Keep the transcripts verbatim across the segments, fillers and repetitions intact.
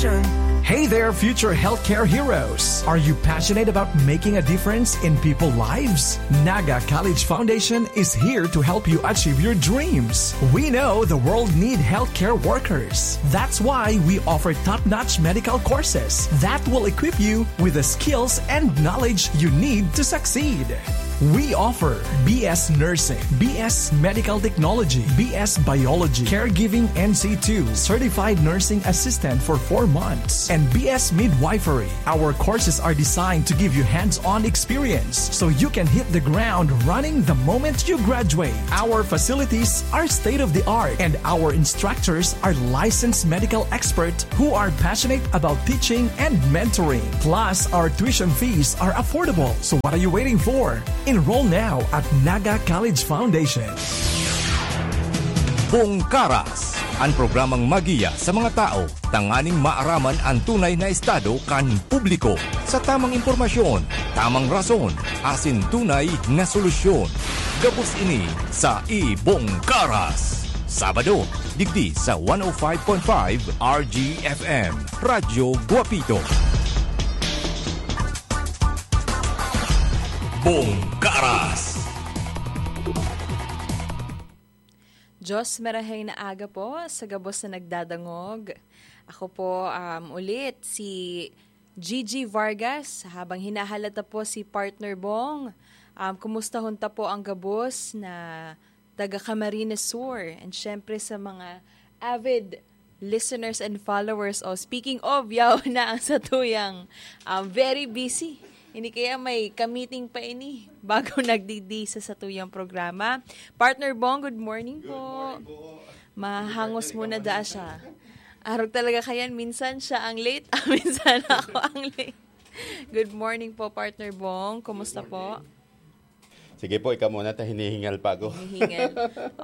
Hey there, future healthcare heroes! Are you passionate about making a difference in people's lives? Naga College Foundation is here to help you achieve your dreams. We know the world need healthcare workers. That's why we offer top-notch medical courses that will equip you with the skills and knowledge you need to succeed. We offer B S Nursing, B S Medical Technology, B S Biology, Caregiving N C two, Certified Nursing Assistant for four months, and B S Midwifery. Our courses are designed to give you hands-on experience so you can hit the ground running the moment you graduate. Our facilities are state-of-the-art, and our instructors are licensed medical experts who are passionate about teaching and mentoring. Plus, our tuition fees are affordable. So what are you waiting for? Enroll now at Naga College Foundation. Bongkaras, ang programang magiya sa mga tao tanganing maaraman ang tunay na estado kan publiko. Sa tamang impormasyon, tamang rason, asin tunay na solusyon. Gabos ini sa Ibongkaras. Sabado, digdi sa one oh five point five R G F M, Radyo Guapito. Bongkaras. Diyos, maraheng na aga po sa gabos na nagdadangog. Ako po, um, ulit si Gigi Vargas, habang hinahalata po si Partner Bong. Um, kumustahon ta po ang gabos na taga Camarines Sur. And syempre sa mga avid listeners and followers. Oh, speaking of, yaw na ang satuyang, um, very busy. Hindi kaya may kamiting pa ini bago nagdidi sa satuyang programa. Partner Bong, good morning po. Mahangos muna daa siya. Arog talaga kayan, minsan siya ang late, ah, minsan ako ang late. Good morning po, Partner Bong. Kumusta po? Sige po, ikaw muna, ta hinihingal pa ako. Hinihingal.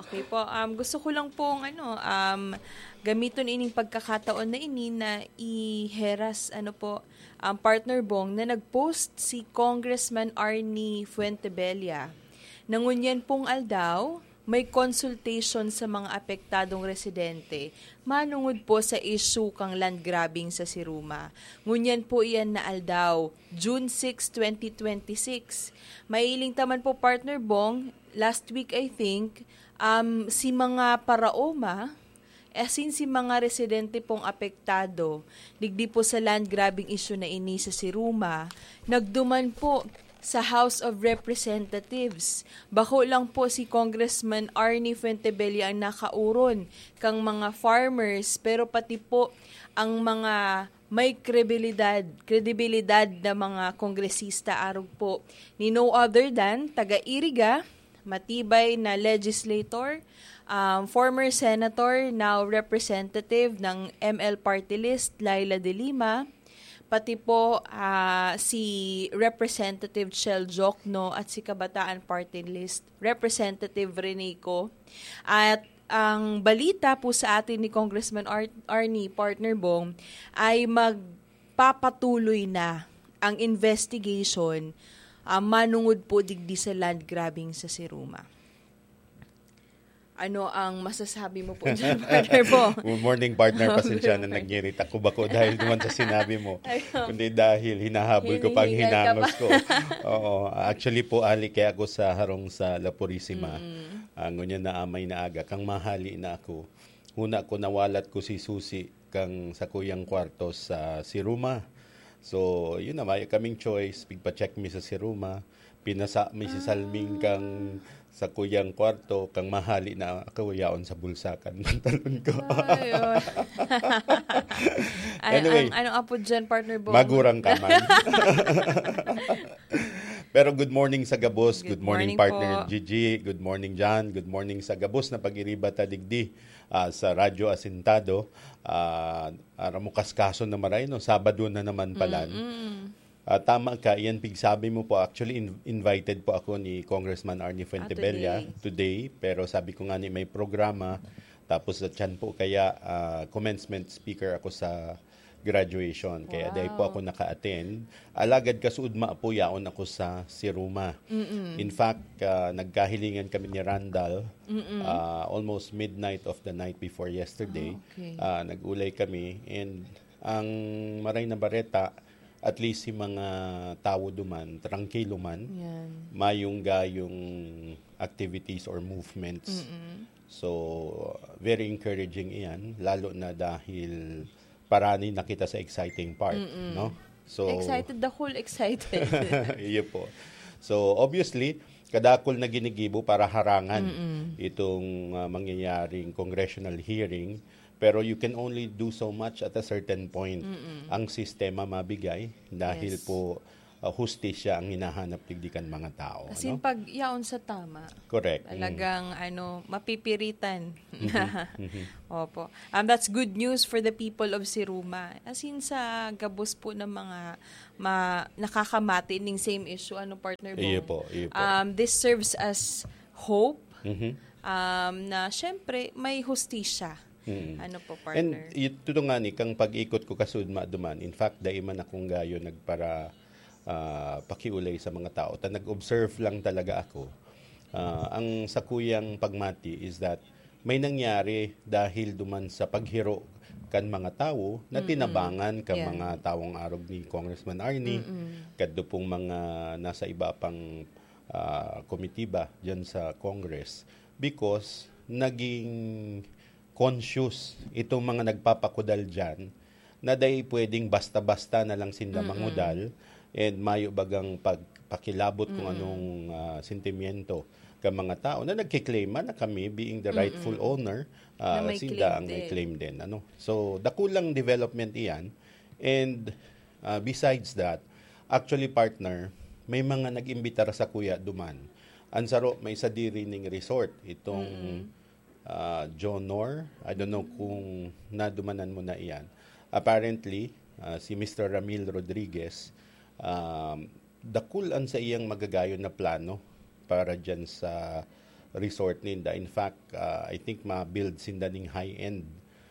Okay po. Um, gusto ko lang pong, ano, um, gamiton ining pagkakataon na ini na iheras, ano po, um, Partner Bong, na nag-post si Congressman Arnie Fuentebella. Na ngunyan pong aldaw, may consultation sa mga apektadong residente manungod po sa issue kang land grabbing sa Siruma. Ngunyan po iyan na aldaw, June six, twenty twenty-six. Mailing ta man po, Partner Bong, last week, I think, um, si mga paraoma, as in, si mga residente pong apektado, digdi po sa land grabbing issue na ini sa Siruma, nagduman po sa House of Representatives. Bako lang po si Congressman Arnie Fuentebella ang nakauron kang mga farmers, pero pati po ang mga may kredibilidad, kredibilidad na mga kongresista, arog po ni no other than taga Iriga, matibay na legislator, um, former senator, now representative ng M L Party List, Leila de Lima, pati po, ah, si Representative Chel Diokno at si Kabataan Party List Representative Rene Co. At ang balita po sa atin ni Congressman Ar-, Arnie, Partner Bong, ay magpapatuloy na ang investigation, ah, manungod po digdi sa land grabbing sa Siruma. Ano ang masasabi mo po dyan, Partner Bong? Good morning, partner. Pasensya na, nagngirita ko bako dahil naman sa sinabi mo. Ayun. Kundi dahil hinahabol ko pa ang hinangos ko. Oo. Actually po, ali kaya ako sa harong sa La Purisima. Mm. Ah, ngunyan na amay na aga, kang mahali na ako. Huna ko, nawalat ko si Susi kang sakuyang kwarto sa Siruma. So, yun na, may kaming choice. Pigpa-check mi sa Siruma. Pinasa mi si Salming kang sakuyang kwarto, kang mahali na ako, yaon sa bulsa kan pantalon ko. Ay, oh. Ay, anyway, ang, anong apod dyan, Partner Bong? Magurang ka man. Pero good morning sa gabos. Good morning, partner Gigi. Good morning, John. Good morning sa gabos na pag-iriba ta digdi, ah, sa Radyo Asintado. Ah, aram mo, kaskaso na maray, no? Sabado na naman pala. Mm-mm. Ah, tama ka, iyan pigsabi mo po. Actually, in-, invited po ako ni Congressman Arnie Fuentebella today, pero sabi ko nga ni may programa, tapos sa tiyan po kaya, ah, commencement speaker ako sa graduation. Kaya dahil po ako naka-attend. Alagad kasuudma po, yaon ako sa Siruma. Mm-mm. In fact, ah, nagkahilingan kami ni Randall, Mm-mm. ah, almost midnight of the night before yesterday. Ah, okay. Ah, nag-ulay kami and Ang Maray na Bareta, at least si mga tawo duman, trangkilo man, Yan. mayong gayong activities or movements. Mm-mm. So, very encouraging iyan, lalo na dahil parani na kita sa exciting part, Mm-mm. no? So, Excited, the whole excited. Iyo po. So, obviously, kadakol na ginigibo para harangan Mm-mm. itong ah, mangyayaring congressional hearing. Pero you can only do so much at a certain point. Mm-mm. Ang sistema mabigay dahil Yes. po ah, hustisya ang hinahanap digdi kan mga tao. As in, No? pag yaon sa tama, Correct. Mm. talagang ano, mapipiritan. Mhm, mhm. Opo. Um, that's good news for the people of Siruma. As in, sa gabos po ng mga ma, nakakamati ning same issue, ano, partner Bong? Iyo po, iyo po. Um, this serves as hope Mhm. um, na syempre may hustisya. Mm. Ano po, And partner? ito nga ni, kang pag-ikot ko kasud maduman, in fact, dai man akong gayo nagpara ah, pakiulay sa mga tao. Ta nag-observe lang talaga ako. Ah, ang sakuyang pagmati is that may nangyari dahil duman sa paghiro kan mga tawo na Mm-mm. tinabangan kan Yeah. mga tawong arog ni Congressman Arnie, Mm-mm. kadto pong mga nasa iba pang ah, komitiba diyan sa Congress, because naging conscious itong mga nagpapakudal diyan na dai pwedeng basta-basta na lang sinda Mm-mm. mangudal and mayo bagang pagpakilabot kung Mm-mm. anong ah, sentimiento ka mga tao na nagkiklaim man na kami, being the rightful Mm-mm. owner, ah, Na may sinda claim ang may din. Claim din. Ano? So, dakulang development iyan. And ah, besides that, actually, partner, may mga nag-imbitar sa kuya duman. Ang saro, may sadiri ning resort. Itong Mm-mm. ah, Jonor, I don't know kung nadumanan mo na iyan. Apparently, ah, si Mister Ramil Rodriguez, um, dakul an sa iyang magagayon na plano para dyan sa resort ninda. In fact, ah, I think ma-build sinda ning high-end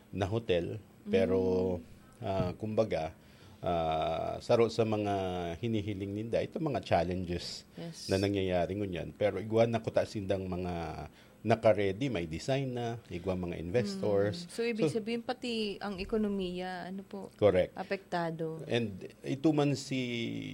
na hotel. Pero, ah, kumbaga, ah, saro sa mga hinihiling ninda, ito mga challenges Yes. na nangyayari ngunyan. Pero igwa na kuta sindang mga naka-ready, may design na, igwa mga investors. Mm. So, ibig So, sabihin, pati ang ekonomiya, ano po, Correct. apektado. And ito man si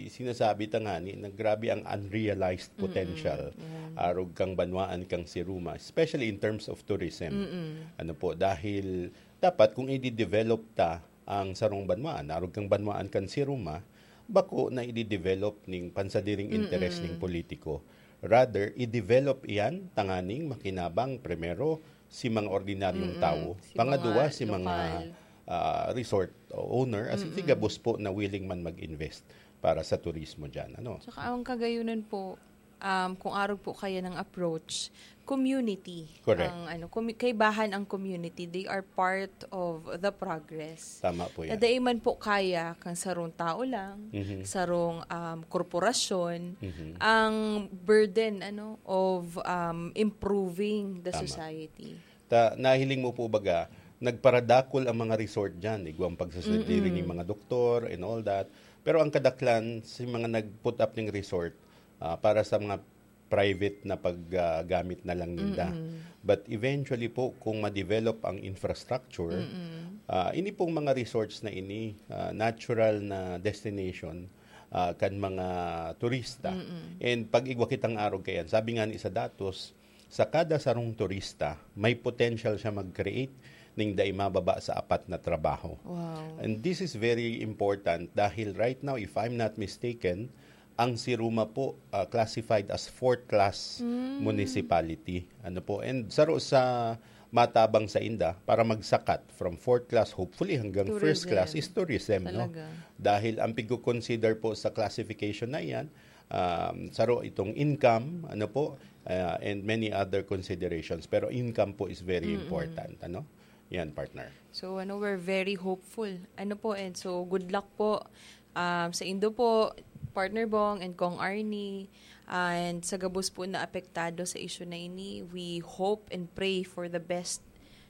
sinasabi ta ngani na grabe ang unrealized Mm-mm. potential Yan. arog kang banwaan kang Siruma, especially in terms of tourism. Mm-mm. Ano po, dahil dapat kung i-develop ta ang sarong banwaan, arog kang banwaan kan Siruma, bako na i-develop ning pansadiring interes Mm-mm. ning politiko. Rather, i-develop iyan tanganing makinabang primero si mga ordinaryong Mm-mm. tawo, Si pangaduwa mga si mga lokal. ah, resort owner, as in, Mm-mm. gabos po na willing man mag-invest para sa turismo dyan. Ano? Tsaka ang kagayunan po, um, kung arog po kaya ng approach, community. Correct. Ang, ano, commu- kaibahan ang community. They are part of the progress. Tama po yan. Nadai man po kaya kang sarong tao lang, Mhm. sarong um, korporasyon, Mhm. ang burden ano of um, improving the Tama. society. Ta, nahiling mo po baga, nagparadakol ang mga resort dyan, igwang pagsasadiri Mm-mm. ni mga doktor and all that. Pero ang kadaklan, si mga nag-put up ng resort ah, para sa mga private na paggamit na lang ninda. Mm-mm. But eventually po, kung ma-develop ang infrastructure, Mm-mm. ah, ini pong mga resorts na ini, ah, natural na destination ah, kan mga turista. Mm-mm. And pag igwa kitang arog kayan, sabi nga ni sa datos, sa kada sarong turista, may potential siya mag-create ning dai mababa sa apat na trabaho. Wow. And this is very important dahil right now, if I'm not mistaken, ang Siruma po ah, classified as fourth class Mm. municipality. Ano po? And saro sa matabang sa inda para magsakat from fourth class, hopefully hanggang first Tourism. class, is tourism. No? Talaga. Dahil ang pigko-consider po sa classification na iyan, um, saro itong income, ano po, uh, and many other considerations. Pero income po is very Mm-mm. important. Ano? Yan, partner. So, ano, we're very hopeful. Ano po, and so, good luck po um, sa indo po, Partner Bong and Kong Arnie, and sa gabos po na apektado sa issue na ini, we hope and pray for the best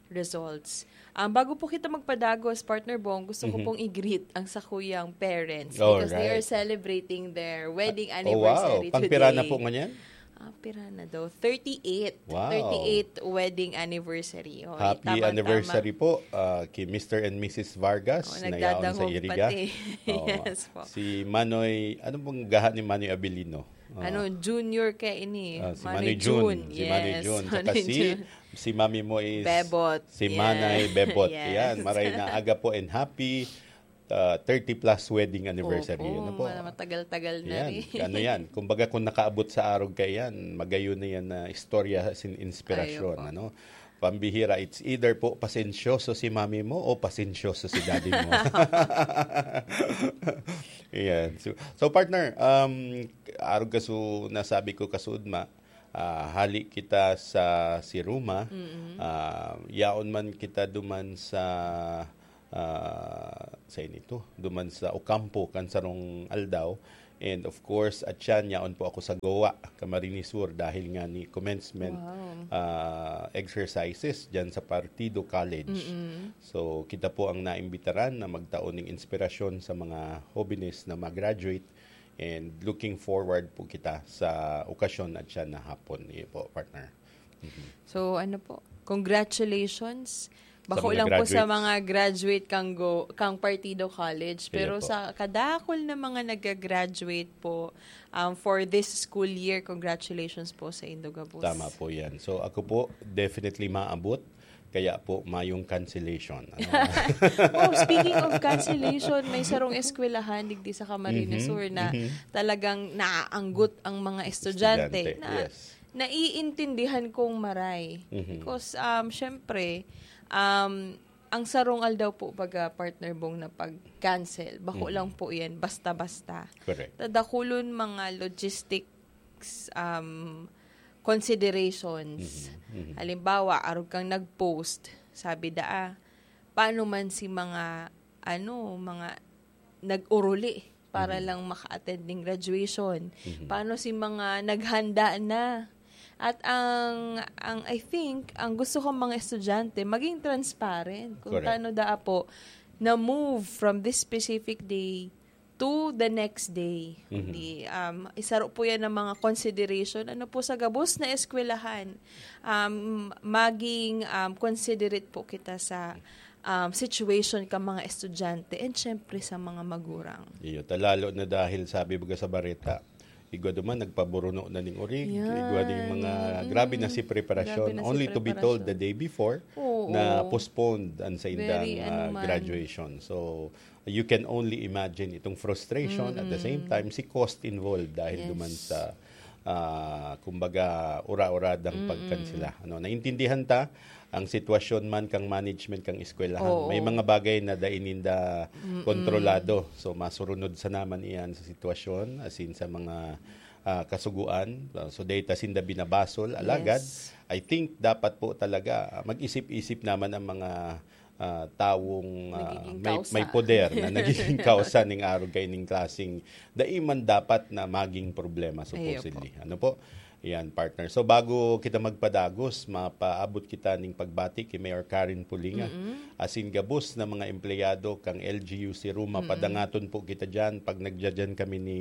results. Um, bago po kita magpadagos, Partner Bong, gusto ko Mhm. pong i-greet ang sakuyang parents All because they are right. celebrating their wedding Oh, anniversary wow. Pangpira na today. Po ngunyan? Ah, pira na daw? Thirty-eight. Wow. Thirty-eight wedding anniversary. Oh, Happy tamang-tama. Anniversary po ah, kay Mister and Missus Vargas Oh, na yaon sa nagdadangog Iriga. Pati. Oo. Yes po. Si Manoy, ano pong gaha ni Manoy Abilino? Ah, Ano, junior ka ini. ah, si Manoy Manoy June. Si Manoy June. Tsaka Manoy si, June. Si Mami mo is Bebot. si Manay Bebot. Yes. Yan, maray na aga po and happy uh, thirty plus wedding anniversary. Opo, Ano po? ma- matagal-tagal na Yan. rin. Ano yan? Kumbaga kung nakaabot sa arog ka yan, magayon na yan na istorya sin inspirasyon. Ayun po. Ano? Pambihira, it's either po pasensyoso si mami mo o pasensyoso si daddy mo. Yan. So, so partner, um, arog kaso nasabi ko kasudma, ah, hali kita sa Siruma, ah, yaon man kita duman sa ah, sa inito, duman sa Ocampo, kan sarong aldaw. And of course, at siya, yaon po ako sa Goa, Camarines Sur, dahil nga ni commencement Wow. ah, exercises dyan sa Partido College. So, kita po ang naimbitaran na magtao ng inspirasyon sa mga hobenes na mag-graduate. And looking forward po kita sa okasyon at siya na hapon. Iyo po, partner. So, ano po? Congratulations. Sa Bako mga lang po sa graduates. Mga graduate kang go, kang Partido College. Pero Iya po. Sa kadakol na mga nag-graduate po um, for this school year, congratulations po sa indo gabos. Tama po yan. So ako po, definitely maabot. Kaya po, mayong cancellation. Ano? Oh, speaking of cancellation, may sarong eskwelahan digdi sa Camarines Mhm, Sur na mhm. Talagang naaanggot ang mga estudyante, Estudyante, na yes. Naiintindihan kong maray. Mhm. Because, um, syempre, um, ang sarong aldaw po, baga, partner Bong, na pag-cancel, bako Mhm. lang po yan, basta-basta. Correct. Tadakulon mga logistics um, considerations. Mhm, mhm. Halimbawa, arog kang nag-post, sabi daa, paano man si mga, ano, mga nag-uruli para Mhm. lang maka-attend ng graduation? Mhm. Paano si mga naghanda na? At ang, ang I think, ang gusto kong mga estudyante, maging transparent kung Correct. Tano daa po na-move from this specific day to the next day. Mhm. Kundi, um, isaro po yan ng mga consideration. Ano po sa gabos na eskwelahan, um, maging um, considerate po kita sa um, situation ka mga estudyante and syempre sa mga magurang. Iyo, ta lalo na dahil sabi baga sa bareta, igwa duman nagpaburuno na ning orig, Yan. igwa ding mga Mm. grabe na si preparasyon. Grabe na si Only to be told preparasyon. The day before Oo. Na postponed ang sa indang Very, ano ah, man. Graduation. So you can only imagine itong frustration at the same Mm. time si cost involved dahil Yes. Duman sa ah, kumbaga ura-uradang Mm-mm. Pagkansela. Ano, naintindihan ta ang sitwasyon man kang management kang eskwelahan. Oo. May mga bagay na dai ninda Mm-mm. kontrolado. So masurunod sa naman iyan sa sitwasyon, as in sa mga ah, kasuguan. Ah, so data sinda binabasol. Alagad, Yes. I think dapat po talaga ah, mag-isip-isip naman ang mga ah, tawong ah, Nagiging may, kausa. May poder na nagiging kausa ning arog kay ning klaseng dai man dapat na maging problema, Ayo supposedly. Ano po? Yan, partner. So bago kita magpadagos, mapaabot kita ning pagbati kay Mayor Karen Pulinga. Mm-mm. Asin gabos na mga empleyado kang L G U Siruma, Mm-mm. padangaton po kita diyan pag nagdadyan kami ni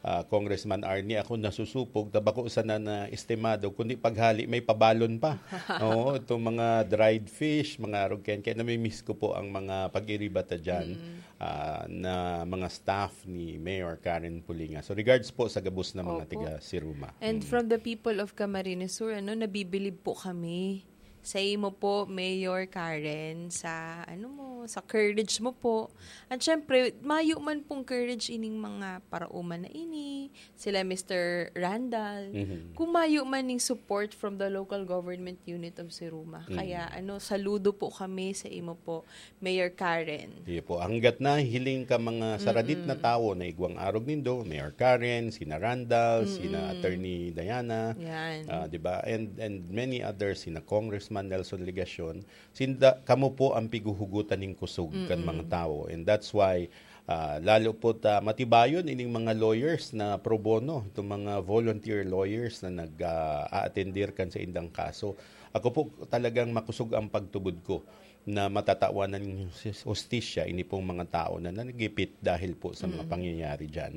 ah, Congressman Arnie. Ako nasusupog, tabako sana na estimado, kundi paghali may pabalon pa. Oo, itong mga dried fish, mga arog kayan. Kaya nami-miss ko po ang mga pag-iribata dyan Mm-mm. ah, na mga staff ni Mayor Karen Pulinga. So regards po sa gabos na mga Opo. Tiga Siruma. And Mm. From the people of Camarines Sur, ano, nabibilib po kami sa imo po, Mayor Karen, sa ano mo, sa courage mo po. At syempre, mayo man pong courage ining mga parauman na ini, sila Mister Randall. Mhm. Kung mayo man ning support from the local government unit of Siruma. Mhm. Kaya ano, saludo po kami sa imo po, Mayor Karen. Iyo po. Hanggat nahihiling ka mga saradit na Mm-mm. Tawo na igwang arog nindo, Mayor Karen, sina Randall, sina Mm-mm. Attorney Diana, Yan. ah, di ba? And and many others, sina Congressman Nelson Legacion, sinda kamo po ang piguhugutan ning kusog kan Mm-mm. Mga Tawo. And that's why ah, lalo po ta matibayon ining mga lawyers na pro bono, itong mga volunteer lawyers na nag ah, aatendir kan sa indang kaso. Ako po talagang makusog ang pagtubod ko na matatawan ng hustisya ini pong mga tao na nagipit dahil po sa mga Mm. Pangyayari dyan.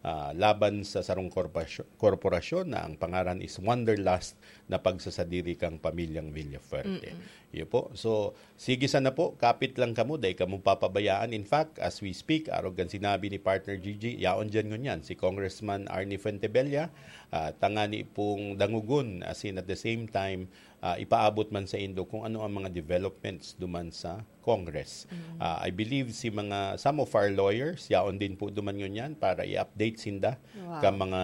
ah, laban sa sarong korporasyon, korporasyon na ang pangaran is Wanderlust na pagsasadiri kang pamilyang Villafuerte. Iyo po. So, sige sana po, kapit lang kamo, dai kamo papabayaan. In fact, as we speak, arog kan sinabi ni Partner Gigi, yaon diyan ngunyan si Congressman Arnie Fuentebella, ah, tangani pong dangogon, as in at the same time, ah, ipaabot man sa indo kung ano ang mga developments duman sa Congress. Ah, I believe si mga, some of our lawyers, yaon din po duman ngunyan para i-update sinda Wow. ka mga,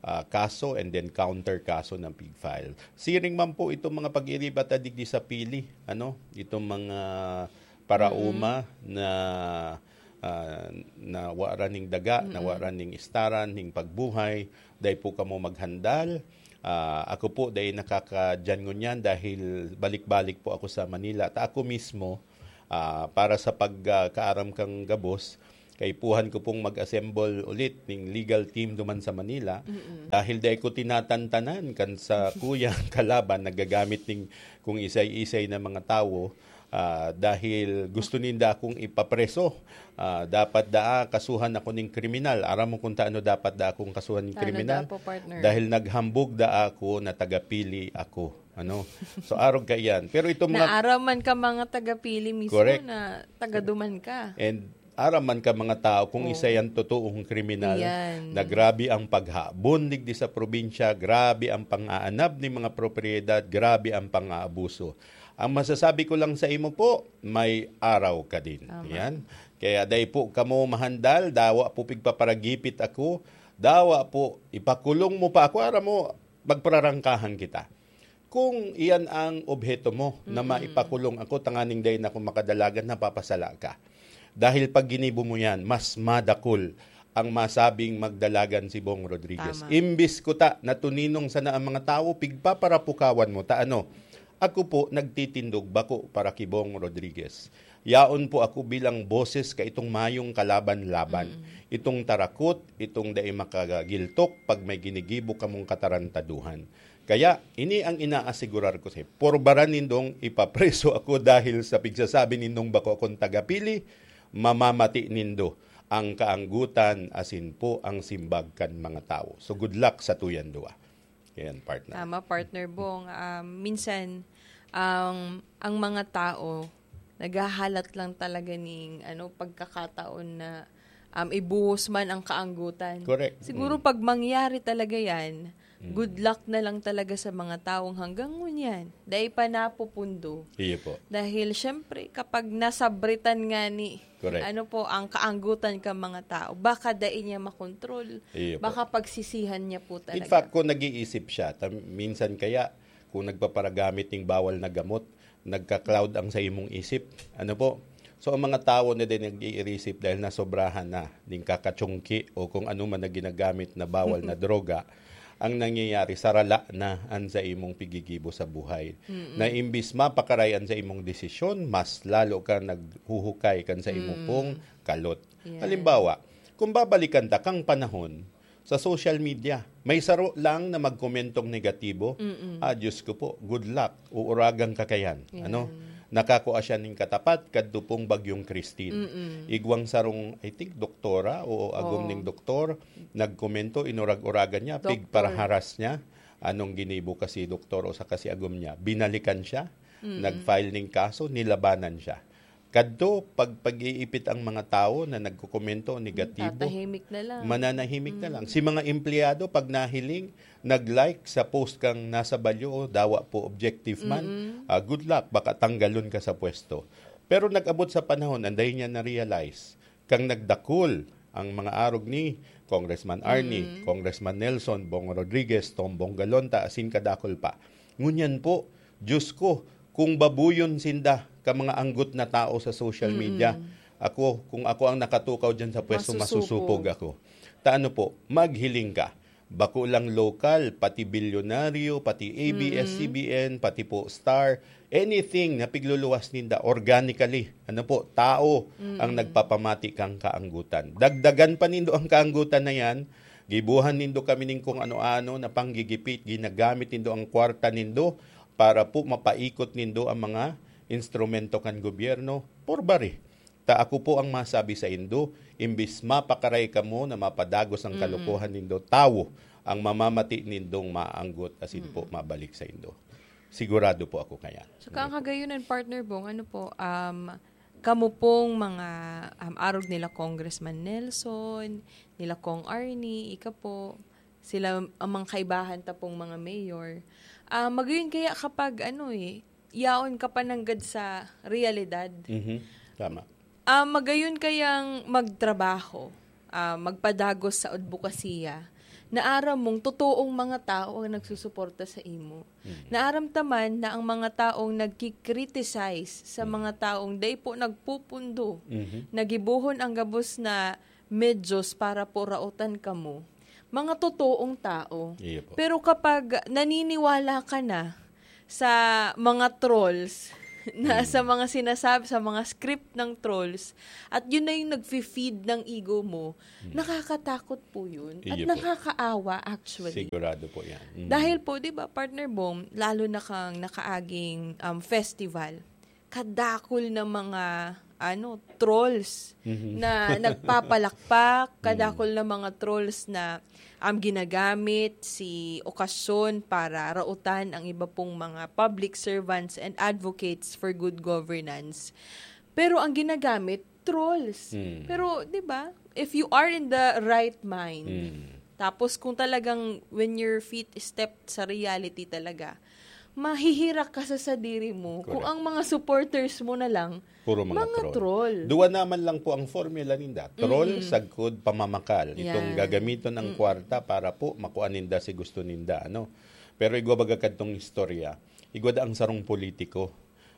ah, kaso and then counter kaso ng pig file. Siring man po itong mga pag-iriba ta digdi sa pili, ano, itong mga paraoma na, ah, na waran ning daga, na waran ning istaran, ning pagbuhay, dai po kamo maghandal. Ah, ako po, dai nakakadyan ngunyan dahil balik-balik po ako sa Manila. Ta ako mismo, ah, para sa pag, ah, kaaram kang gabos, kaipuhan ko pong mag-assemble ulit ning legal team duman sa Manila. Dahil dai ko tinatantanan kan sa kuyang kalaban nagagamit ning kung isay-isay na mga tawo, ah, dahil gusto ninda akong ipapreso. Ah, dapat daa kasuhan ako ning kriminal. Aram mo kung taano dapat daa akong kasuhan ning Taano kriminal? daa po, partner? Dahil naghambog daa ako na tagapili ako. Ano? So, arog ka iyan. Pero itong mga Naaraman ka mga tagapili mismo Correct. na tagaduman ka. And aram man ka mga tao kung Oo. isa yan totoong kriminal Yan. na grabe ang paghabon digdi sa probinsya, grabe ang pang-aanab ni mga propiedad, grabe ang pang-aabuso. Ang masasabi ko lang sa imo po, may araw ka din. Tama. Yan. Kaya dai po kamo mahandal, dawa po pigpaparagipit ako, dawa po ipakulong mo pa ako, aram mo, magprarangkahan kita. Kung iyan ang obheto mo, na Mm. maipakulong ako tanganing dai na ako makadalagan, napapasala ka. Dahil pag ginibo mo yan, mas madakul ang masabing magdalagan si Bong Rodriguez. Tama. Imbis kuta na tuninong sana ang mga tawo, pigpaparapukawan mo ta ano. Ako po nagtitindog bako para ki Bong Rodriguez. Yaon po ako bilang boses ka itong mayong kalaban-laban. Mm. Itong tarakot, itong dai makagiltok pag may ginigibo kamong katarantaduhan. Kaya, ini ang inaasigurar ko sa iyo. Porbaran nindong ipapreso ako dahil sa pigsasabi nindong bako akong tagapili, mamamati nindo ang kaanggutan asin po ang simbag kan mga tawo. So, good luck sa tuyang duwa. Yan, partner. Tama, partner Bong. Um, minsan, ang, ang mga tao, naghahalat lang talaga ning, ano, pagkakataon na, um, ibuhos man ang kaanggutan. Correct. Siguro Mm. pag mangyari talaga yan, Mm. good luck na lang talaga sa mga taong hanggang ngunyan, dai pa napupundo. Iyo po. Dahil, syempre, kapag nasabritan nga ni, Correct. ano po, ang kaanggutan ka mga tao, baka dai niya makontrol, Iyo po. baka pagsisihan niya po In talaga. fact, kung nag-iisip siya, tam-, minsan kaya, kung nagpaparagamit ning bawal na gamot, nagka-cloud ang sa imong isip. Ano po? So, ang mga tawo na din nag-iirisip dahil nasobrahan na ning kakatsungki o kung ano man na ginagamit na bawal na droga, ang nangyayari, sarala na an sa imong pigigibo sa buhay. Mm-mm. Na imbis mapakaray an sa imong desisyon, mas lalo ka naghuhukay kan sa imo Mm. pong kalot. Yan. Halimbawa, kung babalikan ta kang panahon, sa social media, may saro lang na magkomentong negatibo, Mm-mm. ah, Diyos ko po, good luck, uuragan ka kayan. Yan. Ano? Nakakua siya ning katapat kadto pong Bagyong Christine. Mm-mm. Igwang sarong, I think, doktora o agom Oo. ning doktor, nagkomento, inurag-uragan niya, Doktor. pigparaharas niya. Anong ginibo kasi doktor o sa kasi agom niya? Binalikan siya, Mm-mm. nag-file ning kaso, nilabanan siya. Kadto, pag pag-iipit ang mga tawo na nagkokomento negatibo, Tatahimik na lang. mananahimik na lang. Mm. Si mga empleyado, pag nahiling, nag-like sa post kang nasa balyo, "O, dawa po objective man, Mm-mm. ah, good luck, baka tanggalon ka sa pwesto." Pero nag-abot sa panahon, anday niya na-realize, kang nagdakul ang mga arog ni Congressman Arnie, Mm. Congressman Nelson, Bong Rodriguez, Tom Bong Galonta, asin kadakul pa. Ngunyan po, Diyos ko, kung babuyon sinda ka mga anggot na tao sa social Mm. media, ako, kung ako ang nakatukaw dyan sa pwesto, Masusupog. masusupog ako. Ta ano po, maghiling ka. Bako lang lokal, pati bilyonaryo, pati A B S C B N, Mm. pati po Star, anything na pigluluwas ninda organically, ano po, tao ang Mm. nagpapamati kang kaanggutan. Dagdagan pa nindo ang kaanggutan na yan, gibuhan nindo kami ning kung ano-ano na panggigipit, ginagamit nindo ang kwarta nindo para po mapaikot nindo ang mga instrumento kan gobyerno, porbari. Ta ako po ang masabi saindo, imbis mapakaray kamo na mapadagos ang Mm. kalokohan nindo, tawo ang mamamati nindong maanggot asin po Mm. mabalik saindo. Sigurado po ako kaya. Saka ang kagayunan, Partner Bong, ano po, um, kamo pong mga, um, arog nila Congressman Nelson, nila Cong Arnie, ika po, sila ang mga kaibahan ta pong mga mayor. Ah, magayon kaya kapag ano eh, yaon ka pa nanggad sa realidad. Mhm. Tama. Ah, magayon kayang magtrabaho, ah, magpadagos sa adbokasiya, na aram mong totoong mga tao ang nagsusuporta sa imo. Mhm. Na aram ta man na ang mga taong nagki-criticize sa Mhm. mga taong dai po nagpupundo, Mhm. na gibohon ang gabos na medyos para po raotan kamo, mga totoong tao. Iyo po. Pero kapag naniniwala ka na sa mga trolls, na Mm. sa mga sinasabi, sa mga script ng trolls, at yun na yung nagfi-feed ng ego mo, Mm. nakakatakot po yun. At Iyo po. nakakaawa, actually. Sigurado po yan. Mm. Dahil po, di ba, Partner Bong, lalo na kang nakaaging, um, festival, kadakol na mga, ano, trolls Mhm. na nagpapalakpak, Mm. kadakol na mga trolls na, um, ginagamit si okasyon para raotan ang iba pong mga public servants and advocates for good governance. Pero ang ginagamit, trolls. Mm. Pero, di ba, if you are in the right mind, Mm. tapos kung talagang when your feet step sa reality talaga, mahihirak ka sa sadiri mo kung Correct. ang mga supporters mo na lang, Puro mga mga troll. troll. Duwa naman lang po ang formula ninda. Troll, Mm-mm. sagkod, pamamakal. Itong Yan. gagamiton ng Mm. kwarta para po makuha ninda si gusto ninda, ano. Pero igwa baga kadtong istorya, igwa da ang sarong politiko,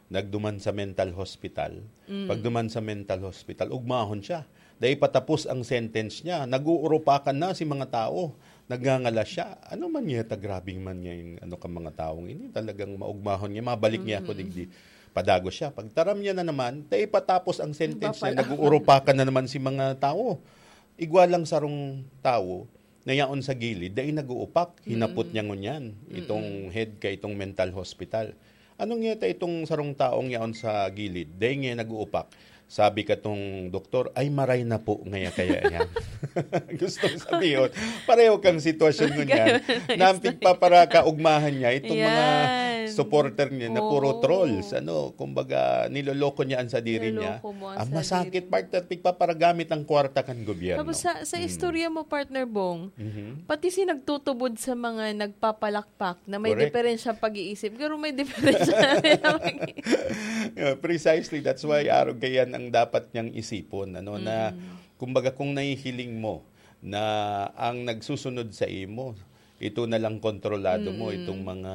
nagduman sa mental hospital. Mm. Pagduman sa mental hospital, ugmahon siya. Dai patapos ang sentence niya, nag-uurupakan na si mga tao. Nagngangalas siya. Ano man niya ta, grabing man niya yung ano ka mga taong ini. Talagang maugmahon niya, mabalik niya ako Mm. digdi. Padagos siya. Pagtaram niya na naman, dai patapos ang sentence niya, Nagpapala- nag-uurupakan na naman si mga tao. Igwa lang sarong tawo na yaon sa gilid, dai nag-uupak, hinapot Mm. niya ngunyan, itong Mm. head ka itong mental hospital. Anong ngeta itong sarong taong yaon sa gilid, dai nga nag-uupak? Sabi katong doktor, "Ay, maray na po ngaya kaya yan." Gustong sabihin, pareho kang sitwasyon ngunyan, Ganun. na ang pigpaparakaugmahan niya, itong mga Yan. supporter niya na puro Oo. trolls, ano, kumbaga, niloloko niya ang sadiri niya. Niloloko mo ang Ang masakit, sadiri mo. partner, pigpaparagamit ang kwarta kan gobyerno. Tapos sa, sa Mm. istorya mo, Partner Bong, Mhm. pati si nagtutubod sa mga nagpapalakpak na may Correct. diferensya pag-iisip, pero may diferensya na rin ang pag-iisip. Yeah, precisely. That's why Mm. arog kaiyan ang dapat niyang isipon, ano, na, Mm. kumbaga, kung nahihiling mo na ang nagsusunod sa imo, ito na lang kontrolado mo, Mm. itong mga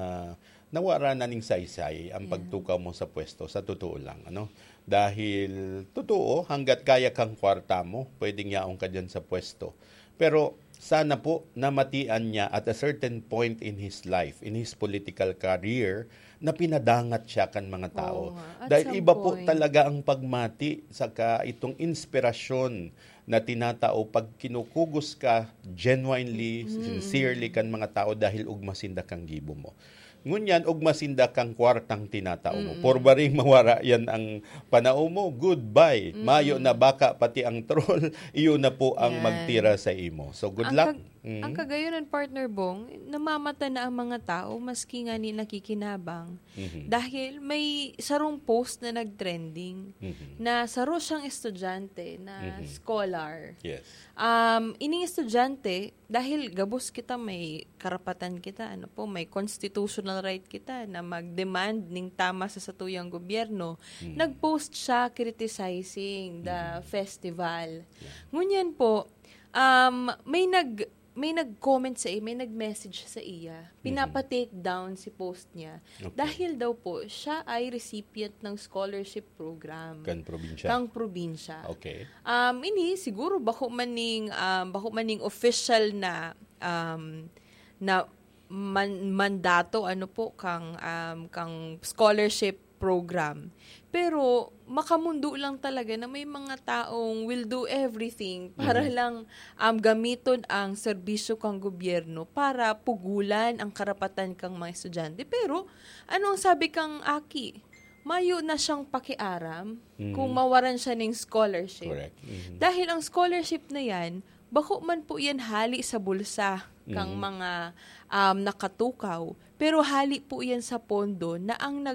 nawara na ning saysay ang Mm. pagtukaw mo sa pwesto, sa totoo lang, ano? Dahil, totoo, hanggat kaya kang kwarta mo, pwedeng yaon ka diyan sa pwesto. Pero, sana po, namatian niya at a certain point in his life, in his political career, na pinadangat siya kan mga tao. Oo nga, at Dahil some iba po point. talaga ang pagmati, saka itong inspirasyon na tinatao pag kinukugos ka genuinely, Mm. sincerely kan mga tao dahil ugma sinda kang gibo mo. Ngunyan, ugma sinda kang kwartang tinatao mo. Mm. Porbaring mawara yan ang panao mo, goodbye. Mm. Mayo na baka pati ang troll, iyo na po ang Yan. magtira sa imo. So, good Ang luck. kag-, Mm. ang kagayonan, Partner Bong, namamata na ang mga tao, maski nga ni nakikinabang. Mhm. Dahil may sarong post na nagtrending Mhm. na saro siyang estudyante na Mhm. scholar. Yes. Um, ining estudyante, dahil gabos kita, may karapatan kita, ano po, may constitutional right kita na mag-demand ning tama sa satuyang gobyerno. Mhm. Nag-post siya criticizing the Mhm. festival. Yeah. Ngunyan po, um, may nag-, may nag-comment sa iya, may nag-message sa iya. Mhm. Pinapa-take down si post niya. Okay. Dahil daw po, siya ay recipient ng scholarship program Kan probinsya. kang probinsya. Okay. Um, ini siguro bako man ning, um, bako man ning official na, um, na man-, mandato, ano po, kang, um, kang scholarship program. Pero makamundo lang talaga na may mga taong will do everything para Mhm. lang, um, gamiton ang serbisyo kang gobyerno para pugulan ang karapatan kang mga estudyante. Pero ano ang sabi kang aki? mayo na siyang pakiaram Mhm. kung mawaran siya ning scholarship. Correct. Mhm. Dahil ang scholarship na yan, bako man po yan hali sa bulsa kang Mhm. mga, um, nakatukaw, pero hali po yan sa pondo na ang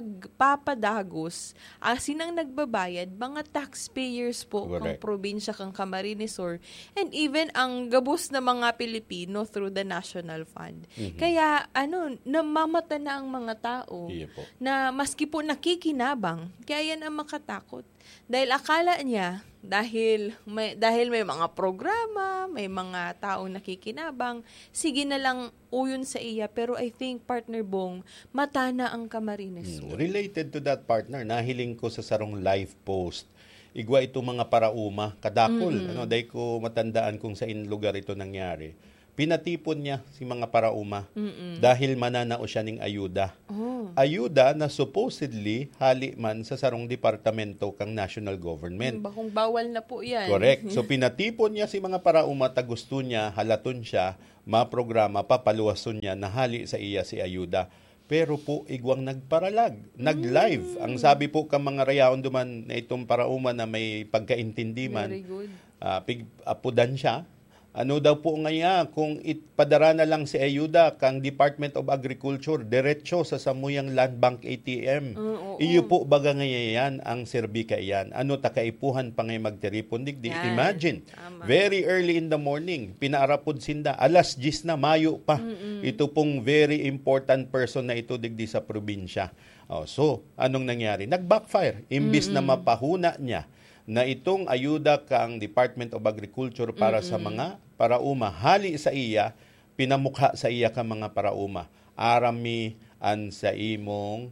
nagpapadagos, asin ang nagbabayad, mga taxpayers po kang Correct. probinsya, kang Camarines Sur, and even ang gabos na mga Pilipino through the National Fund. Mhm. Kaya, ano, namamata na ang mga tao Iyo po. na maski po nakikinabang, kaya yan ang makatakot. Dahil akala niya, dahil may, dahil may mga programa, may mga taong nakikinabang, sige na lang uyon sa iya. Pero I think, Partner Bong, mata na ang Camarines Hmm, Sur. Related to that, partner, nahiling ko sa sarong live post. Igwa itong mga parauma, kadakol, Mm-mm. ano, dai ko matandaan kung sain lugar ito nangyari. Pinatipon niya si mga parauma Mm-mm. dahil mananao siya ning ayuda. Oh. Ayuda na supposedly hali man sa sarong departamento kang national government. Hmm, bakong bawal na po yan. Correct. So, pinatipon niya si mga parauma ta gusto niya, halaton siya, maprograma, papaluwason niya, na hali sa iya si ayuda. Pero po, igwang nagparalag, nag-live. Mm. Ang sabi po ka mga rayaon duman na itong parauma na may pagkaintindi man, Very good. ah, pig-, apudan siya. Ano daw po ngaya kung ipadara na lang si ayuda kang Department of Agriculture diretso sa samuyang Land Bank A T M? Ah, oo. Iyo po baga ngaya yan ang serbi kaiyan? Ano ta kaipuhan pa ngay magtiripon digdi? Yan. Imagine, Tama. very early in the morning, pinaarapod sinda, alas diyes na, mayo pa. Mm-mm. Ito pong very important person na ito digdi sa probinsya. Oh, so, anong nangyari? Nag-backfire. Imbis na Mm-mm. mapahuna niya na itong ayuda kang Department of Agriculture para sa Mm-mm. mga parauma, hali sa iya, pinamukha sa iya ka mga parauma, aram mi an saimong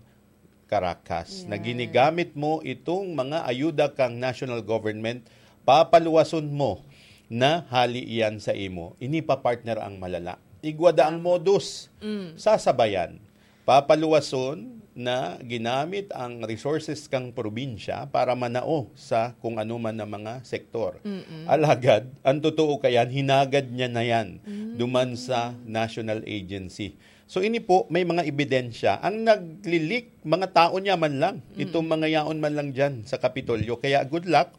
karakas na Yeah. ginigamit mo itong mga ayuda kang national government, papaluwason mo na hali iyan sa imo. Ini pa, partner, ang malala. Igwa da ang Tama. modus. Mm. Sasabayan. Papaluwason na ginamit ang resources kang probinsya para manao sa kung ano man na mga sektor. Mm-mm. Alagad, ang totoo kayan, hinagad niya na yan Mm. duman sa national agency. So, ini po, may mga ebidensya. Ang nagli-leak, mga tao niya man lang. Mm. Itong mga yaon man lang dyan sa Kapitolyo. Kaya, good luck.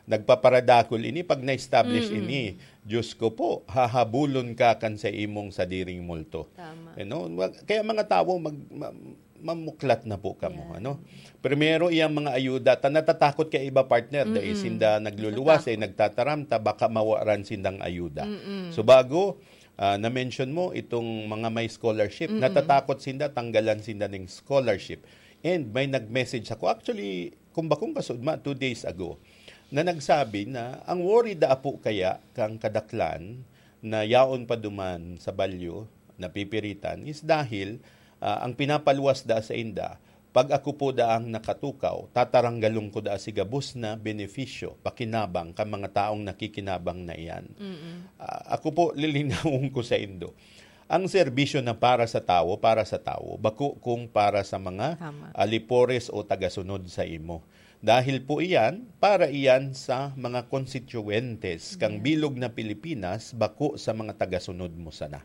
Nagpaparadakol ini pag na-establish Mm. ini. Diyos ko po, hahabulon ka kan sa imong sadiring multo. Tama. You know? Wa-, kaya mga tawo, mag-, ma-, mamuklat na po kamo, Yeah. ano? Primero, iyang mga ayuda, ta natatakot kay iba, partner, dahil Mm-mm. sinda nagluluwas, eh, Natatakot. nagtataram, ta baka mawaran sindang ayuda. Mm-mm. So, bago, ah, na-mention mo, itong mga may scholarship, Mm-mm. natatakot sinda, tanggalan sinda ning scholarship. And may nag-message ako, actually, kung bakong kasudma, two days ago, na nagsabi na ang worry da apo kaya kang kadaklan na yaon pa duman sa balyo, napipiritan, is dahil, ah, ang pinapaluwas da sa inda, pag ako po daang nakatukaw, tataranggalon ko da si gabos na benepisyo, pakinabang kan mga taong nakikinabang na iyan. Mm-mm. Ah, ako po, lilinawon ko sa indo. Ang serbisyo na para sa tawo, para sa tawo, bako kung para sa mga Tama. alipores o tagasunod sa imo. Dahil po iyan, para iyan sa mga konstituyentes kang Ayan. bilog na Pilipinas, bako sa mga tagasunod mo sana.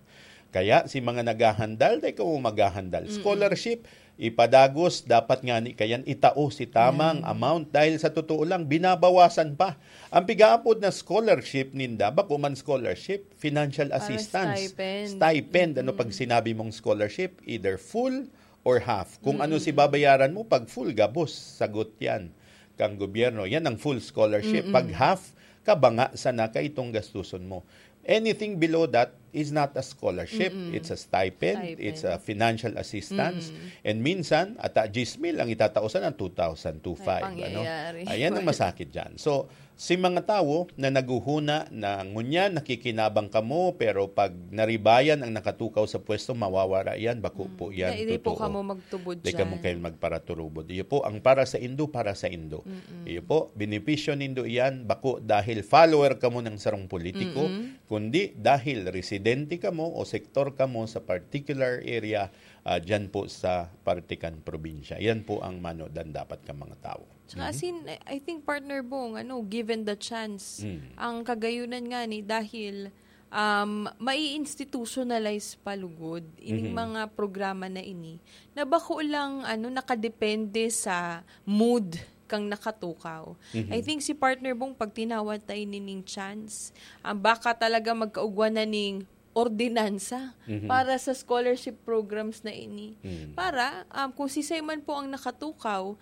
Kaya si mga naghahandal, dai kamo maghahandal. Mm-mm. Scholarship, ipadagos, dapat ngani kayan itao si tamang Ayan. amount. Dahil sa totoo lang, binabawasan pa. Ang pigaapod na scholarship ninda, bako man scholarship, financial Parang assistance. stipend. Stipend, ano Mm-mm. pag sinabi mong scholarship? Either full or half. Kung ano Mm. si babayaran mo, pag full, gabos, sagot yan kang gobyerno. Yan ang full scholarship. Mm-mm. Pag half, kabanga sana ka itong gastuson mo. Anything below that is not a scholarship. Mm-mm. It's a stipend. Stipend. It's a financial assistance. Mm. And minsan, ata diyes mil ang itataosan ng two thousand, two five, Ay, ano? pangyayari. Ayan ang masakit dyan. So, si mga tawo na naghuhuna na ngunyan nakikinabang kamo, pero pag naribayan ang nakatukaw sa pwesto, mawawara yan, bako Mm. po yan, Di, di po totoo. kamo magtubod Di kamo dyan. kayo magparaturubod. Iyo po, ang para sa indo, para sa indo. Mm-mm. Iyo po, benepisyo nindo iyan, bako dahil follower kamo ng sarong politiko, Mm-mm. kundi dahil residente kamo o sektor kamo sa particular area, ah, dyan po sa parte kan probinsya. Yan po ang manodan dapat ka mga tao. Tsaka Mhm. as in, I, I think, Partner Bong, ano, given the chance, Mm. ang kagayunan nga ni, dahil, um, mai-institutionalize pa lugod ining Mhm. mga programa na ini na bako lang, ano, nakadepende sa mood kang nakatukaw. Mhm. I think si partner Bong, pag tinawag tayo nining chance, ah, baka talaga magkaugwa na ning ordinansa Mhm. para sa scholarship programs na ini. Mhm. Para, um, kung sisay man po ang nakatukaw,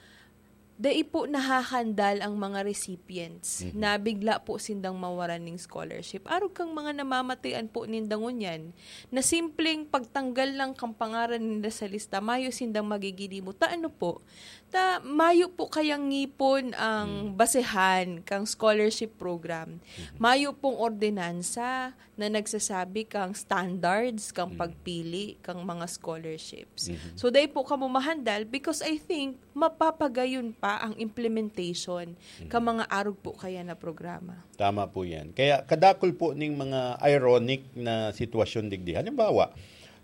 dai po nahahandal ang mga recipients Mhm. na bigla po sindang mawaran ning scholarship. Arog kang mga namamatian po ninda ngunyan na simpleng pagtanggal lang kang pangaran ninda sa lista, mayo sindang magigilimot. Ta ano po? Ta mayo po kayang ngipon ang Hmm. basehan kang scholarship program. Mhm. Mayo pong ordinansa na nagsasabi kang standards kang Hmm. pagpili kang mga scholarships. Mhm. So, dai po kamo mahandal because I think mapapagayon pa ang implementation Mhm. ka mga arog po kaya na programa. Tama po yan. Kaya kadakol po ning mga ironic na sitwasyon digdi. Halimbawa,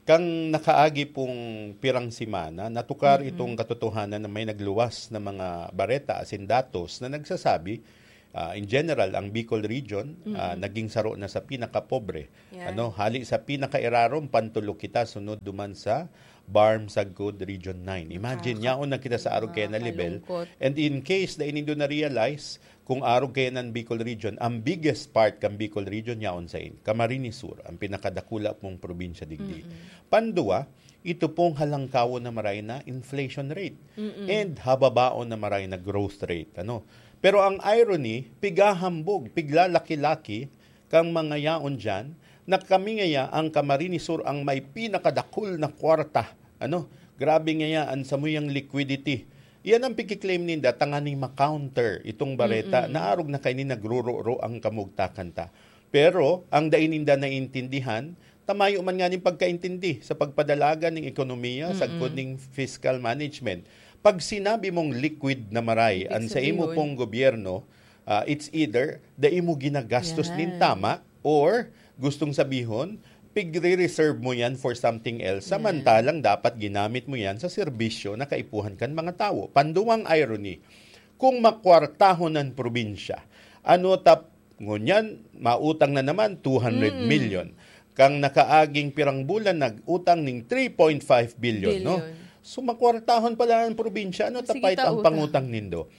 kang nakaagi pong pirang semana, natukar Mm-mm. itong katotohanan na may nagluwas na mga bareta asin datos na nagsasabi, ah, in general, ang Bicol Region, ah, Mm-mm. naging saro na sa pinakapobre. Yan. Ano, hali sa pinakairarom, pantulok kita, sunod duman sa BARMM Sagkod Region nine. Imagine, Nakaka- yaon na kita sa arog kaya na level. Nakakalungkot. And in case na inindo na-realize, kung arog kaya ng Bicol Region, ang biggest part kang Bicol Region, yaon sa in. Camarines Sur, ang pinakadakula pong probinsya digdi. Mm-mm. Pandua, ito pong halangkawon na maray na inflation rate Mm-mm. and hababaon na maray na growth rate. Ano? Pero ang irony, pigahambog, piglalaki-laki kang mga yaon diyan, na kami ngaya ang Camarines Sur ang may pinakadakul na kwarta. Ano? Grabe ngaya ang samuyang liquidity. Iyan ang pikiklaim ninda, tanganing ma-counter itong bareta Mm-mm. na arog na kaini nagrururo ang kamugtakan ta. Pero ang dai ninda naintindihan, ta mayo man nganing pagkaintindi sa pagpadalagan ning ekonomiya, Mm-mm. sagkod ning fiscal management. Pag sinabi mong liquid na maray, Ibig an sa imo sabihon pong gobyerno, ah, it's either dai mo ginagastos nin Yan. tama or gustong sabihon, pigre-reserve mo yan for something else, Yan. samantalang dapat ginamit mo yan sa serbisyo na kaipuhan kan mga tawo. Panduwang irony, kung makwartahon ang probinsya, ano ta Ngunyan, mautang na naman, two hundred Mm. million. Kang nakaaging pirang bulan, nag-utang ning three point five billion, no? Billion. So, makwartahon pala ang probinsya, ano Sige, tapait ta ang utang. pangutang nindo?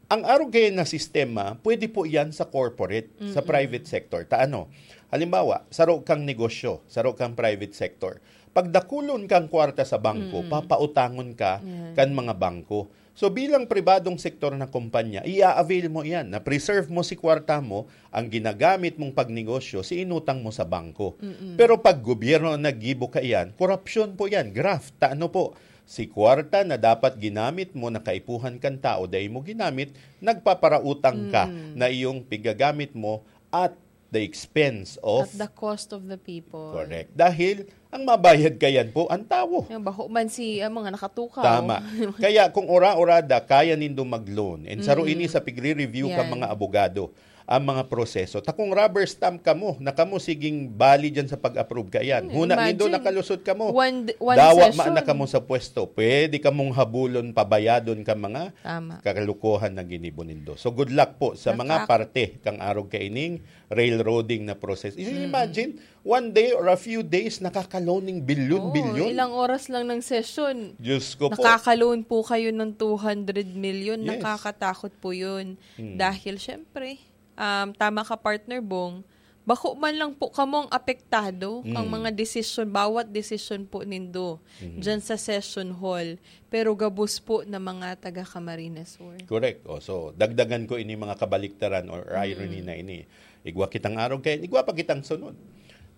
Ang arog kaya na sistema, pwede po yan sa corporate, sa Mm-mm. private sector. Ta ano? Halimbawa, saro kang negosyo, saro kang private sector. Pagdakulon kang kwarta sa bangko, Mm-mm. papautangon ka Yan. kan mga bangko. So, bilang pribadong sektor na kumpanya, i-avail mo iyan, na-preserve mo si kwarta mo, ang ginagamit mong pagnegosyo, si inutang mo sa bangko. Mm-mm. Pero pag gobyerno ang naggibo ka iyan, korupsyon po iyan, graft. Ta ano po, si kwarta na dapat ginamit mo na kaipuhan kan tao, dai mo ginamit, nagpaparautang ka Mm. na iyong pigagamit mo at the expense of At the cost of the people. Correct. Dahil ang mabayad kayan po, ang tawo. Yung bako man si, ah, mga nakatukaw. Tama. Kaya kung ora-orada, kaya nindo mag-loan. And saro Mm-mm. ini sa pigre-review ka Yan. mga abogado, ang mga proseso. Ta kung rubber stamp kamo, na kamo siging bali dyan sa pag-approve kayan. Hmm, Huna nindo imagine. nakalusot kamo. One d-, one Dawa session. man na kamo sa pwesto. Pwede kamong habulon, pabayadon ka mga Tama. kalokohan na ginibo nindo. So good luck po sa mga Nakak- parte kang arog kaining railroading na process. Mm. Imagine, one day or a few days, nakakaloning bilyon-bilyon. Oo, ilang oras lang ng session, Diyos ko po. nakakaloan po kayo ng two hundred million. Yes. Nakakatakot po yun. Mm. Dahil, syempre, um, tama ka, Partner Bong, bako man lang po kamong apektado ang Mm. mga desisyon, bawat desisyon po nindo Mm. dyan sa session hall. Pero gabos po na mga taga Camarines Sur. Correct. O, so, dagdagan ko ini mga kabaliktaran or irony Mm. na ini. Igwa kitang arog kaya, igwa pa kitang sunod.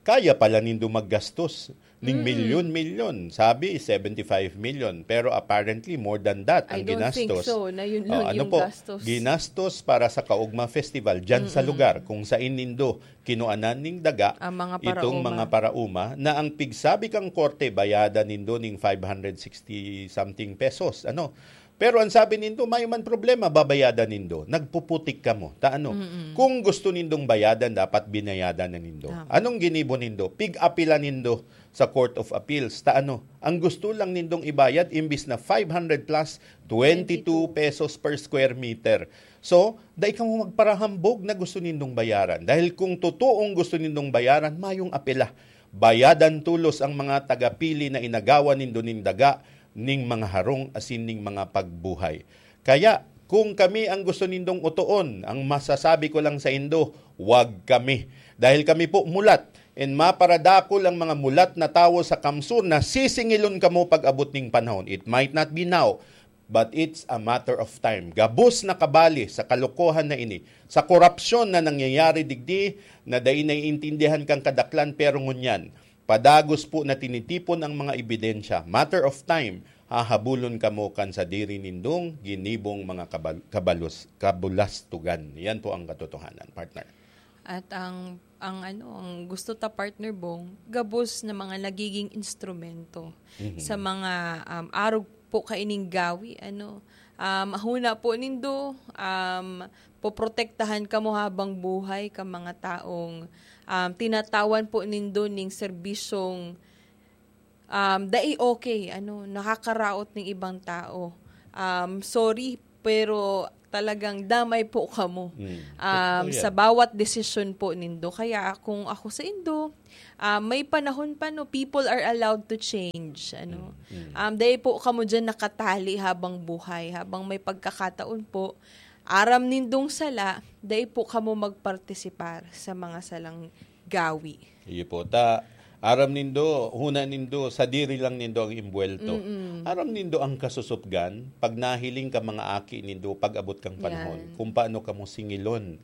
Kaya pala nindo maggastos ning Mm. milyon-milyon. Sabi, seventy-five million. Pero apparently, more than that I ang don't think ginastos. so, na yun O, lang ano yung po? gastos. Ginastos para sa Kaugma Festival dyan sa Mm-mm. lugar kung saan nindo kinuanan ning daga Ang mga itong paraoma. mga paraoma na ang pigsabi kang korte, bayadan nindo ning five hundred sixty something pesos. Ano? Pero ang sabi nindo, "Mayo man problema, babayadan nindo." Nagpuputik kamo. Ta ano? Mm-mm. Kung gusto nindong bayadan, dapat binayadan na nindo. Tama. Anong ginibo nindo? Pig-apila nindo sa Court of Appeals. Ta ano? Ang gusto lang nindong ibayad, imbis na five hundred plus, twenty-two pesos per square meter. So, dai kamo magparahambog na gusto nindong bayaran. Dahil kung totoong gusto nindong bayaran, mayong apela. Bayadan tolos ang mga tagapili na inagawan nindo nin daga, ning mga harong asin ning mga pagbuhay. Kaya, kung kami ang gusto nindong otoon, ang masasabi ko lang sa indo, wag kami. Dahil kami po mulat, and maparadakol ang mga mulat na tawo sa kamsur na sisingilon kamo pag-abot ning panahon. It might not be now, but it's a matter of time. Gabos na kabali sa kalokohan na ini, sa korupsyon na nangyayari digdi na dai naiintindihan kan kadaklan, pero ngunyan, padagos po na tinitipon ang mga ebidensya. Matter of time, hahabulon kamo kan sadiri nindong ginibong mga kabal-, kabalos-, kabulastugan. Yan po ang katotohanan, partner. At ang, ang ano, ang gusto ta, partner Bong, gabos na mga nagiging instrumento Mhm. sa mga, um, arog po kaining gawi, ano. Um, huna po nindo, um, poprotektahan kamo habang buhay ka mga taong, um, tinatawan po nindo ning serbisyong, um, dai okay, ano, nakakaraot ning ibang tao. Um, sorry, pero talagang damay po kamo, Mm. um, Totoo sa yan. bawat desisyon po nindo. Kaya kung ako sa indo, ah, may panahon pa, no, people are allowed to change, ano. Mm, mm. Um, dai po kamo dyan nakatali habang buhay, habang may pagkakataon po, aram nindong sala, dai po kamo magpartisipar sa mga salang gawi. Iyo po. Ta, aram nindo, huna nindo, sadiri lang nindo ang imbuwelto. Mm-mm. Aram nindo ang kasusupgan, pag nahiling ka mga aki nindo, pag-abot kang panahon, Yan. kung paano kamo singilon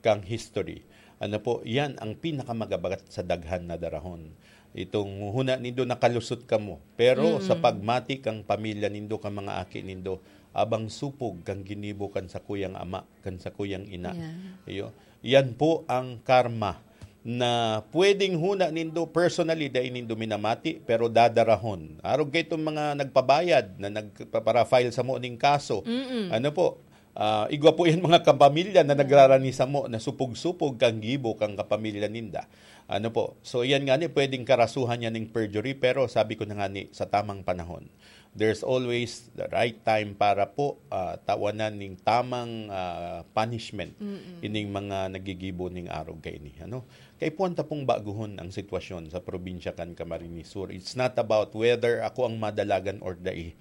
kang history. Ano po, yan ang pinakamagabat sa daghan na darahon. Itong huna nindo nakalusot kamo, pero sa Mm. pagmati kang pamilya nindo, kang mga aki nindo, abang supog kang ginibo kan sakuyang ama, kan sakuyang ina. Yan. Iyo. Yan po ang karma na pwedeng huna nindo personally, dai nindo minamati, pero dadarahon. Arog kaitong mga nagpabayad na nagpapara-file samo ning kaso. Mm-mm. Ano po? Ah, igwa po yan mga kapamilya na nagrarani samo na supog-supog kang gibo kang kapamilya ninda. Ano po? So, yan nga ni, pwedeng karasuhan yan ning perjury, pero sabi ko na nga ni, sa tamang panahon. There's always the right time para po, ah, tawanan ning tamang, ah, punishment Mm-mm. ining mga nagigibo ning arog kaini, ano? Kaipuhan ta pong baguhon ang sitwasyon sa probinsya kan Camarines Sur. It's not about whether ako ang madalagan or dai.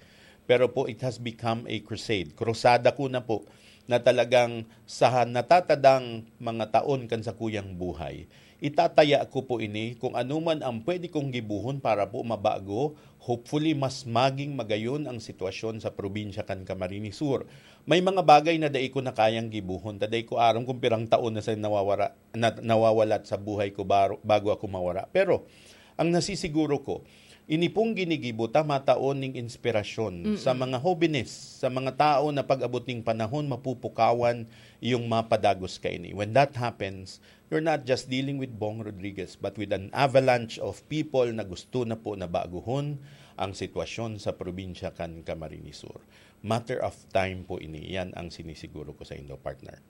Pero po, it has become a crusade. Krusada ko na po na talagang sa natatadang mga taon kan sakuyang buhay, itataya ko po ini kung ano man ang pwede kong gibuhon para po mabago. Hopefully, mas maging magayon ang sitwasyon sa probinsya kan Camarines Sur. May mga bagay na dai ko na kayang gibuhon, ta dai ko aram kung pirang taon na sa nawawara, na, nawawalat sa buhay ko baro-, bago ako mawara. Pero, ang nasisiguro ko, ini pong ginigibo ta mataon ning inspirasyon Mm-mm. sa mga hobenes, sa mga tao na pag-abot ning panahon, mapupukawan yung mapadagos kaini. When that happens, you're not just dealing with Bong Rodriguez, but with an avalanche of people na gusto na po na baguhon ang sitwasyon sa probinsya kan Camarines Sur. Matter of time po ini. Yan ang sinisiguro ko sa indo, partner.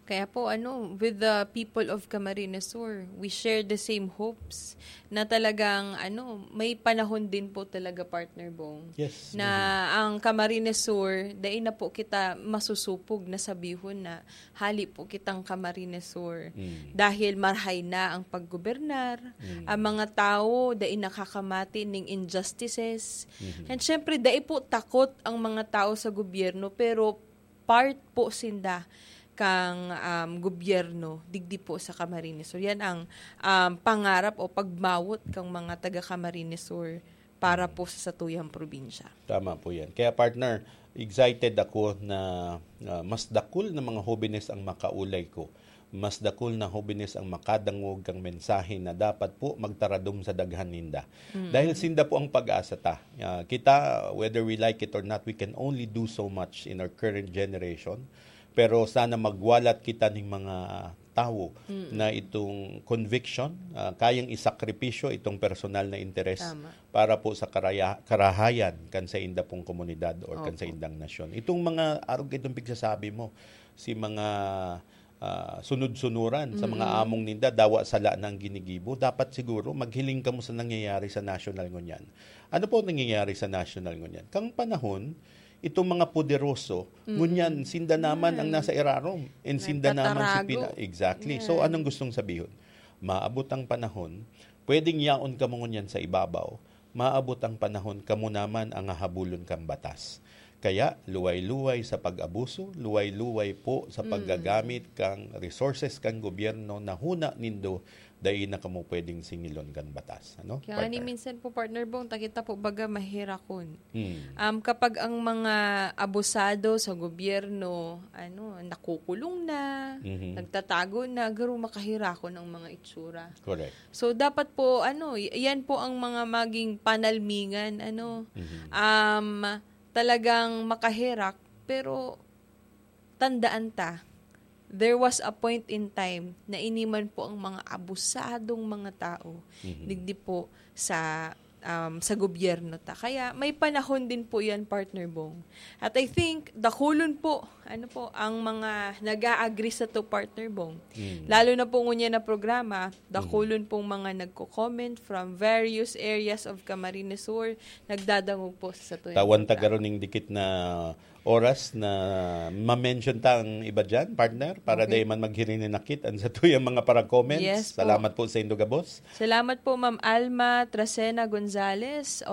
Kaya po, ano, with the people of Camarines Sur, we share the same hopes na talagang, ano, may panahon din po talaga, partner Bong, Yes. na Mhm. ang Camarines Sur, dai na po kita masusupog na sabihon na hali po kitang Camarines Sur. Mm. Dahil marhay na ang paggobernar, Mm. ang mga tao dai nakakamati ning injustices. Mhm. And syempre, dai po takot ang mga tao sa gobyerno, pero part po sinda kang, um, gobyerno digdi po sa Camarines Sur. Yan ang, um, pangarap o pagmawot kang mga taga Camarines Sur para Mm. po sa satuyang probinsya. Tama po yan. Kaya, partner, excited ako na, ah, mas dakul na mga hobenes ang makaulay ko. Mas dakul na hobenes ang makadangog kang mensahe na dapat po magtaradom sa daghan ninda. Mm. Dahil sinda po ang pag-asa ta. Ah, kita, whether we like it or not, we can only do so much in our current generation. Pero sana magwalat kita ning mga tawo na itong conviction, ah, kayang isakripisyo itong personal na interes para po sa karaya-, karahayan kan sa inda pong komunidad or kan sa indang nasyon. Itong mga arog itong pigsasabi mo, si mga, ah, sunod-sunuran sa mga among ninda, dawa sala na ang ginigibo, dapat siguro maghiling kamo sa nangyayari sa national ngunyan. Ano po nangyayari sa national ngunyan? Kang panahon, itong mga poderoso, ngunyan, sinda naman ang nasa irarom. And sinda naman si pina-, exactly. So, anong gustong sabihon? Maabot ang panahon, pwedeng yaon kamo ngunyan sa ibabaw, maabot ang panahon, kamo naman ang hahabulon kan batas. Kaya, luway-luway sa pag-abuso, luway-luway po sa paggagamit kan resources kan gobyerno na huna nindo, dai na kamo pwedeng singilon kan batas. Ano, Kaya nga ni partner? Minsan po, partner Bong, takita po baga mahirakon. Hmm. Um, kapag ang mga abusado sa gobyerno, ano, nakukulong na, Mhm. nagtatago na, garo makahirakon ang mga itsura. Correct. So, dapat po, ano, y- yan po ang mga maging panalmingan, ano, Mhm. um, talagang makahirak, pero tandaan ta, there was a point in time na iniman po ang mga abusadong mga tao, Mhm. digdi po sa, um, sa gobyerno ta. Kaya may panahon din po yan, partner Bong. At I think, dakulon po, ano po, ang mga nag-a-agree sa to, partner Bong. Mm. Lalo na po ngunyan na programa, dakulon pong mga nagko-comment from various areas of Camarines Sur, nagdadangog po sa to. Tawan ta garo ning dikit na oras na ma-mention ta ang iba dyan, partner, para Okay. dai man maghirinakit ang sa tuyang mga para comments. Yes po. Salamat po sa indo gabos. Salamat po, Ma'am Alma Trasena Gonzalez.